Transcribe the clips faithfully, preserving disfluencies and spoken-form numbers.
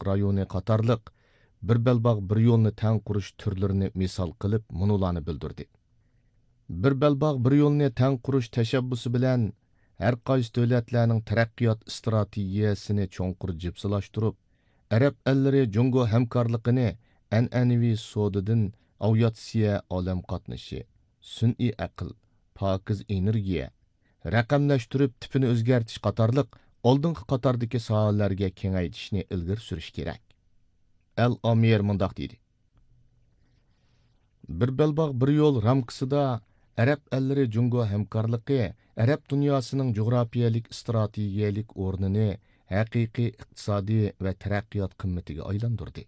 رايونى قاتارلىق بىر بەلباغ بىر يولنى تەڭ قۇرۇش تۈرلىرىنى مىسال قىلىپ مۇنۇلارنى بىلدۈردى. بىر بەلباغ بىر يولنى تەڭ قۇرۇش تەشەببۇسى بىلەن ھەر قايسى دۆلەتلەرنىڭ تەرەققىيات ئىستراتېگىيەسىنى چوڭقۇر جىپسىلاشتۇرۇپ، ئەرەب ئەللىرى جۇڭگو ھەمكارلىقىنى ئەنئەنىۋى سودىدىن ئاۋىئاتسىيە، ئالەم قاتنىشى، سۈنئىي ئەقىل، پاكىز ئېنېرگىيە، رەقەملەشتۈرۈپ تىپىنى ئۆزگەرتىش قاتارلىق ئالدىنقى قاتاردىكى ساھەلەرگە كېڭەيتىشنى ئىلگىرى سۈرۈش كېرەك. ئەل ئامىر مۇنداق دېدى: بىر بەلباغ بىر يول رامكىسىدا ئەرەب ئەللىرى جۇڭگو ھەمكارلىقى ئەرەب دۇنياسىنىڭ جۇغراپىيەلىك ئىستراتېگىيەلىك ئورنىنى ھەقىقىي ئىقتىسادىي ۋە تەرەققىيات قىممىتىگە ئايلاندۇردى.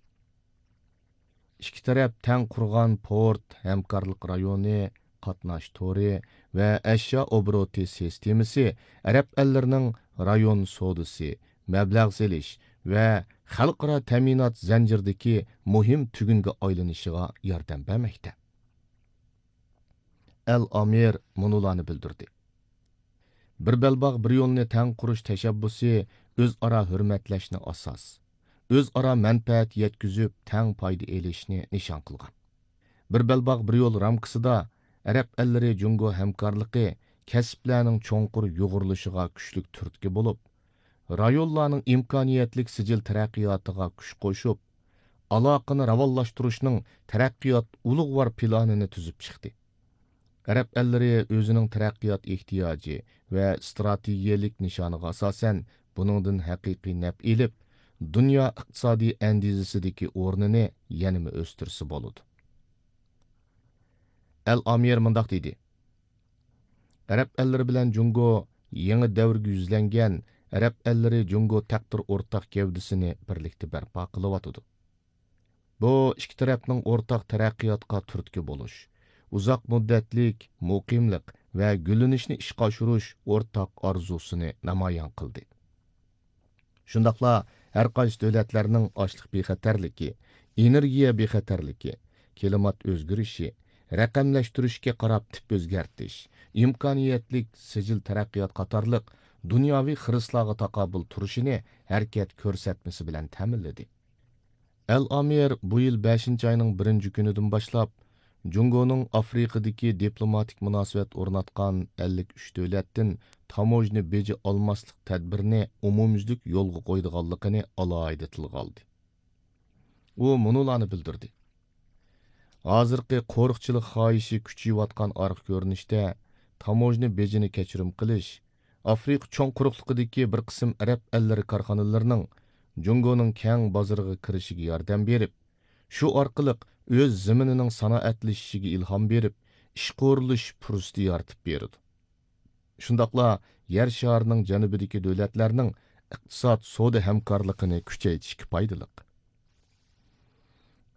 ئىككى تەرەپ تەڭ قۇرغان پورت، ھەمكارلىق رايونى، قاتناش تورى ۋە ئەشيا ئوبوروتى سىستېمىسى ئەرەب ئەللىرىنىڭ رايون سودىسى، مەبلەغ سېلىش ۋە خەلقئارا تەمىنات زەنجىرىدىكى مۇھىم تۈگۈنگە ئايلىنىشىغا ياردەم بەرمەكتە. ئەل ئامىر مۇنۇلارنى بىلدۈردى: بىر بەلباغ بىر يولنى تەڭ قۇرۇش تەشەببۇسى ئۆزئارا ھۆرمەتلەشنى ئاساس، ئۆزئارا مەنپەئەت يەتكۈزۈپ تەڭ پايدا ئېلىشنى نىشان قىلغان. بىر بەلباغ بىر يول رامكىسىدا ئەرەب ئەللىرى جۇڭگو ھەمكارلىقى كەسىپلەرنىڭ چوڭقۇر يۇغۇرۇلۇشىغا كۈچلۈك تۈرتكە بولۇپ، رايونلارنىڭ ئىمكانىيەتلىك سىجىل تەرەققىياتىغا كۈچ قوشۇپ، ئالاقىنى راۋانلاشتۇرۇشنىڭ تەرەققىيات ئۇلۇغۋار پىلانىنى تۈزۈپ چىقتى. ئەرەب ئەللىرى ئۆزىنىڭ تەرەققىيات ئېھتىياجى ۋە ئىستراتېگىيەلىك نىشانىغا ئاساسەن، بۇنىڭدىن ھەقىقىي نەپ ئېلىپ، دۇنيا ئىقتىسادىي ئەندىزىسىدىكى ئورنىنى يەنىمۇ ئۆستۈرسە بولىدۇ. ئەل ئامىر مۇنداق دېدى: ئەرەب ئەللىرى بىلەن جۇڭگو يېڭى دەۋرگە يۈزلەنگەن ئەرەب ئەللىرى جۇڭگو تەقدىر ئورتاق گەۋدىسىنى بىرلىكتە بەرپا قىلىۋاتىدۇ. بۇ ئىككى تەرەپنىڭ ئورتاق تەرەققىياتقا تۈرتكە بولۇش، ئۇزاق مۇددەتلىك مۇقىملىق ۋە گۈللىنىشنى ئىشقا ئاشۇرۇش ئورتاق ئارزۇسىنى نامايان قىلدى. شۇنداقلا ھەر قايسى دۆلەتلەرنىڭ ئاشلىق بىخەتەرلىكى، ئېنېرگىيە بىخەتەرلىكى، كىلىمات ئۆزگىرىشى، رەقەملەشتۈرۈشكە قاراپ تىپ ئۆزگەرتىش، ئىمكانىيەتلىك سىجىل تەرەققىيات قاتارلىق دۇنياۋى خىرىسلارغا تاقابىل تۇرۇشىنى ھەرىكەت كۆرسەتمىسى بىلەن تەمىنلىدى. ئەل ئامىر بۇ يىل بەشىنچى ئاينىڭ بىرىنچى كۈنىدىن باشلاپ، جۇڭگونىڭ ئافرىقىدىكى دىپلوماتىك مۇناسىۋەت ئورناتقان ئەللىك ئۈچ دۆلەتتىن تاموژنا بېجى ئالماسلىق تەدبىرىنى ئومۇميۈزلۈك يولغا قويىدىغانلىقىنى ئالاھىدە تىلغا ئالدى. ئۇ مۇنۇلارنى بىلدۈردى: ھازىرقى قورۇقچىلىق خاھىشى كۈچىيىۋاتقان ئارقا كۆرۈنۈشتە تاموژنا بېجىنى كەچۈرۈم قىلىش، ئافرىقا چوڭ قۇرۇقلۇقىدىكى بىر قىسىم ئەرەب ئەللىرى كارخانىلىرىنىڭ جۇڭگونىڭ كەڭ بازىرىغا كىرىشىگە ياردەم بېرىپ، شۇ ئارقىلىق ئۆز زېمىنىنىڭ سانائەتلىشىشىگە ئىلھام بېرىپ، ئىشقا ئورۇنلىشىش پۇرسىتى يارىتىپ بېرىدۇ. شۇنداقلا يەر شارىنىڭ جەنۇبىدىكى دۆلەتلەرنىڭ ئىقتىساد، سودا ھەمكارلىقىنى كۈچەيتىشكە پايدىلىق.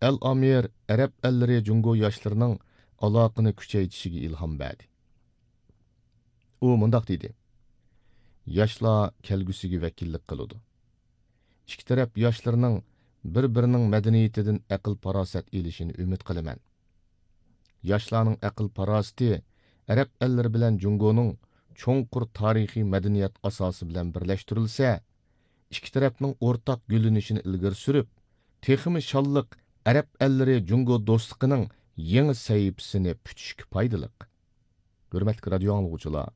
ئەل ئامىر ئەرەب ئەللىرى جۇڭگو ياشلىرىنىڭ ئالاقىنى كۈچەيتىشىگە ئىلھام بەردى. ئۇ مۇنداق دېدى: ياشلار كەلگۈسىگە ۋەكىللىك قىلىدۇ. ئىككى تەرەپ ياشلىرىنىڭ بىر-بىرىنىڭ مەدەنىيىتىدىن ئەقىل-پاراسەت ئېلىشىنى ئۈمىد قىلىمەن. ياشلارنىڭ ئەقىل-پاراسىتى ئەرەب ئەللىرى بىلەن جۇڭگونىڭ چوڭقۇر تارىخىي مەدەنىيەت ئاساسى بىلەن بىرلەشتۈرۈلسە، ئىككى تەرەپنىڭ ئورتاق گۈللىنىشىنى ئىلگىرى سۈرۈپ، تېخىمۇ شانلىق ئەرەب ئەللىرى جۇڭگو دوستلۇقىنىڭ يېڭى سەھىپىسىنى پۈتۈشكە پايدىلىق. ھۆرمەتلىك رادىيو ئاڭلىغۇچىلار،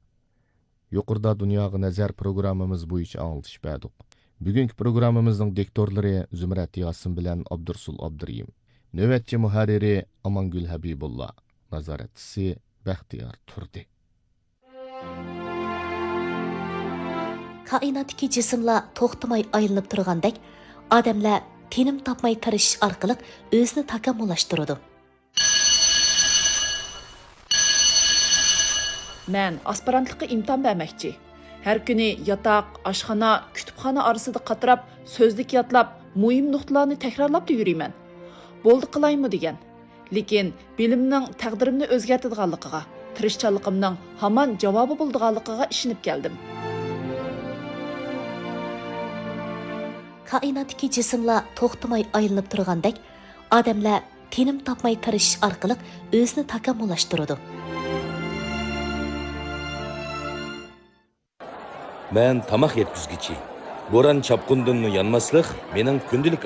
يۇقىرىدا دۇنياغا نەزەر پروگراممىمىز بويىچە ئاڭلىتىش بەردۇق. بۈگۈنكى پروگراممىمىزنىڭ دىكتورلىرى زۇمرەت ياسىن بىلەن ئابدۇرسۇل ئابدۇرېھىم. نۆۋەتچى مۇھەررىرى ئامانگۈل ھەبىبۇللا. نازارەتچىسى بەختىيار تۇردى. كائىناتتىكى جىسىملار توختىماي ئايلىنىپ تۇرغاندەك، ئادەملەر تىنىم تاپماي تىرىشىش ئارقىلىق ئۆزىنى تاكامۇللاشتۇرىدۇ. مەن ئاسپىرانتلىققا ئىمتىھان بەرمەكچى. ھەر كۈنى ياتاق، ئاشخانا، كۇتۇپخانا ئارىسىدا قاتراپ، سۆزلۈك يادلاپ، مۇھىم نۇقتىلارنى تەكرارلاپلا يۈرىمەن. بولدى قىلايمۇ دېگەن. لېكىن بىلىمنىڭ تەقدىرىمنى ئۆزگەرتىدىغانلىقىغا، تىرىشچانلىقىمنىڭ ھامان جاۋابى بولىدىغانلىقىغا ئىشىنىپ كەلدىم. كائىناتتىكى جىسىملار توختىماي ئايلىنىپ تۇرغاندەك، ئادەملەر تىنىم تاپماي تىرىشىش ئارقىلىق ئۆزىنى تاكامۇللاشتۇرىدۇ. مەن تاماق يەتكۈزگۈچى. بوران-چاپقۇندىنمۇ يانماسلىق مېنىڭ كۈندىلىك